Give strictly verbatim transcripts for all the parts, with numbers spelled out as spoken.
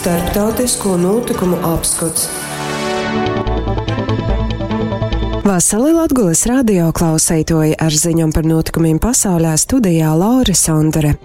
Starptautisko nūtykumu apskots. Vasali Latgolys radio klauseituoji ar ziņom par nūtykumim pasaulē studijā Laura Sondore.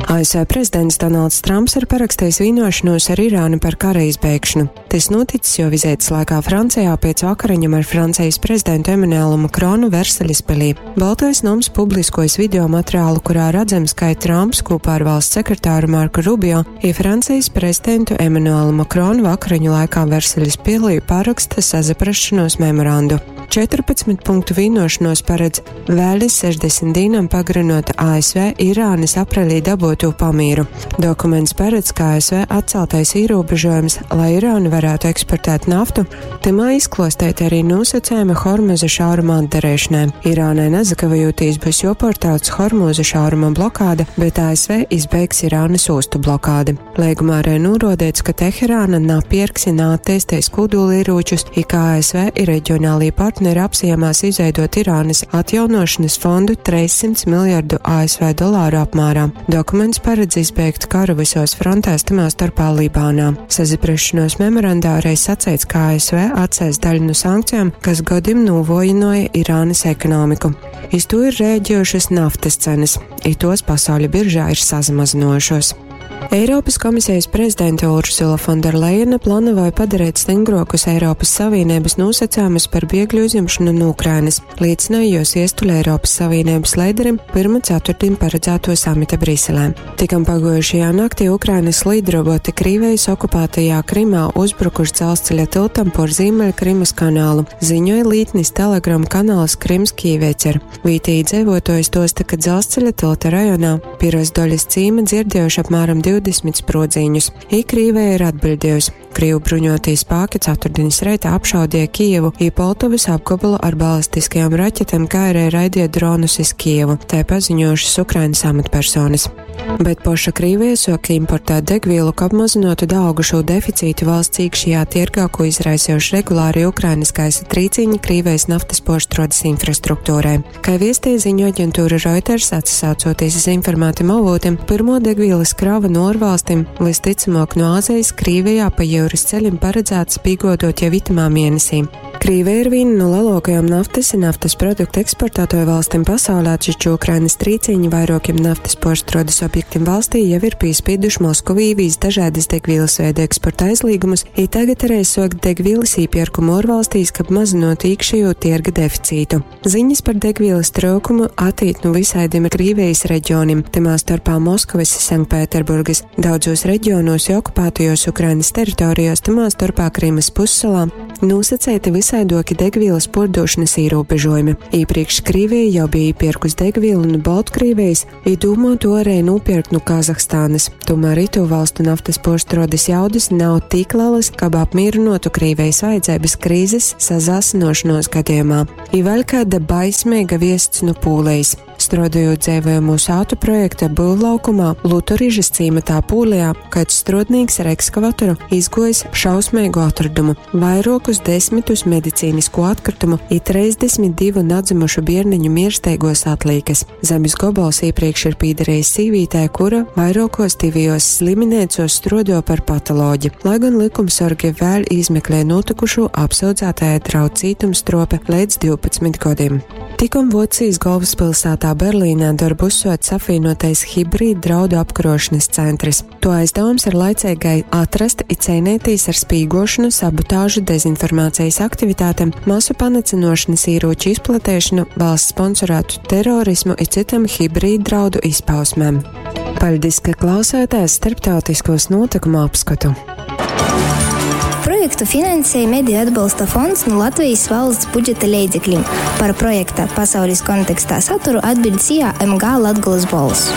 A S V prezidents Donalds Trumps ir parakstījis vienošanos ar Irānu par kara izbeigšanu. Tas noticis jo vizītes laikā Francijā pēc vakariņām ar Francijas prezidentu Emanuelu Makronu Versaļas pilī. Baltais noms publiskojas video materiālu, kurā redzams, ka Trumps kopā ar valsts sekretāru Marku Rubio i Francijas prezidentu Emanuelu Makronu vakariņu laikā Versaļas pilī paraksta sazaprašanos memorandu. četrpadsmit punktu vienošanos paredz vēl sešdesmit dīnam pagarinot A S V Irānas aprelī dabūto pamīru. Dokuments paredz, ka A S V atceltais ierobežojums, lai Irāna varētu eksportēt naftu, timā izklostēt arī nosacījumi Hormuza šauruma atdarīšanai. Irānai nezakavējoties būs joportāts Hormuza šauruma blokāde, bet A S V izbeigs Irānas ostu blokādi. Līgumā arī norādīts, ka Teherāna napirks i nātēstēs kodolieročus, i ka A S V ir reģionālī partneri apsijamās izveidot Irānas atjaunošanas fondu trīs simts miljardu A S V dolāru apmērā. Dokuments paredz izbeigt karu visos frontēs, tamā starpā Libānā. Sazaprašanos memorandā arī sacīts, ka A S V atcels daļu no sankcijām, kas godim novojināja Irānas ekonomiku. Iz to ir rēģējušas naftas cenas, i tos pasauļa biržā ir sazamazinojušos. Eiropas komisijas prezidente Ursula Fonderleina plānoja padarīt stingrokus Eiropas Savienības nosacījumus par bēgļu uzņemšanu no Ukrainas, liecināja jos iestuļa Eiropas Savienības līderim pirma ceturtdien paredzēto samita Briselē. Tikam pagojušajā naktī Ukrainas lidroboti Krīvijas okupētajā Krimā uzbrukuši dzelzceļa tiltam por Ziemeļkrimas kanālu, ziņoja lītnis Telegram kanāls Krimskij Vecer. Vītī dzīvotojas tosta, ka dzelzceļa tilta rajonā Piros-Doļas cīma dzirdējuši apmēram divdesmit sprodziņus. I Krīvija ir atbildējusi. Krīvu bruņotie spēki ceturtdienas reitā apšaudīja Kijevu i Poltavas apgabalu ar balistiskajām raķetēm, kā arī raidīja dronus iz Kijevu, tā paziņojušas Ukrainas amatpersonas. Bet poša Krīvija soka importēt degvielu, ka apmazinotu daugušo deficītu valsts iekšējā tirgā, ko izraisījuši regulāri Ukrainas gaisa trīciņi Krīvijas naftas porštrodas infrastruktūrai. Kā viestīja ziņu aģentūra Reuters, atsaucoties uz informētiem avotiem, pirmo degvielas kravu no ārvalstīm, visticamāk no Āzijas, Krīvijā pa jūras ceļiem paredzēts pīgodot jau itamā mēnesī. Krīvija ir viena no lielākajām naftas un naftas produktu eksportētoju valstīm pasaulē, taču Ukrainas trīciņi vairākiem naftas porštrodas objektiem valstī jau ir pīspīduši Moskavī vīs dažādas degvielas veida eksporta aizliegumus, i tagad arī sokt degvielas īpirkumu ārvalstīs, kab mazinot iekšējo tirga deficītu. Ziņas par degvielas trūkumu atīt no visādiem Krīvijas reģioniem, timā starpā Moskavas, Sanktpēterburgas, daudzos reģionos i okupētajos Ukrainas teritorijos, timā starpā Krimas pussalā, nosacēti visaidoki degvielas pordošanas ierobežojumi. Iepriekš Krievija jau bija iepirkus degvielu no Baltkrievijas, i domā to arī nopirkt no Kazahstānas. Tomēr itu valstu naftas porštrodas jaudas nav tik lielas, kab apmierinotu Krievijas vajadzības krīzes sazāsinošanos gadījumā. I vēl kāda baismīga viests no Pūlijas. Strādājot dzīvojamo sātu projekta būvlaukumā Lutorižas cīmatā Pūlijā, kāds strodnīgs ar ekskavatoru izgojis šausmīgu atradumu – vairokus desmitus medicīnisko atkritumu i trīsdesmit divu nadzimušu bierniņu miersteigos atlīkas. Zemes gobals iepriekš ir pīderējis sīvītē, kura vairākos divijos sliminēcos strodo par patoloģi. Lai gan likumsorgi vēl izmeklē notikušo, apsūdzētāja draud cietumstrope līdz divpadsmit gadiem. Tikom Vocijas galvaspilsētā Berlīnē darbu uzsots apvienotais hibrīd draudu apkarošanas centrs. To aizdevums ir laicīgai atrast i cīnīties ar spīgošanu, sabotāžu, dezinformācijas aktivitātēm, masu panicinošanas ieroču izplatēšanu, valsts sponsorētu terorismu i citam hibrīd draudu izpausmēm. Paļdis, ka klausāties starptautiskos notikumu apskatu. Projektu finansēja Mediju atbalsta fonds no Latvijas valsts budžeta leidzekļiem. Par projekta pasaules kontekstā saturu atbild S I A M G Latgolas Bolss.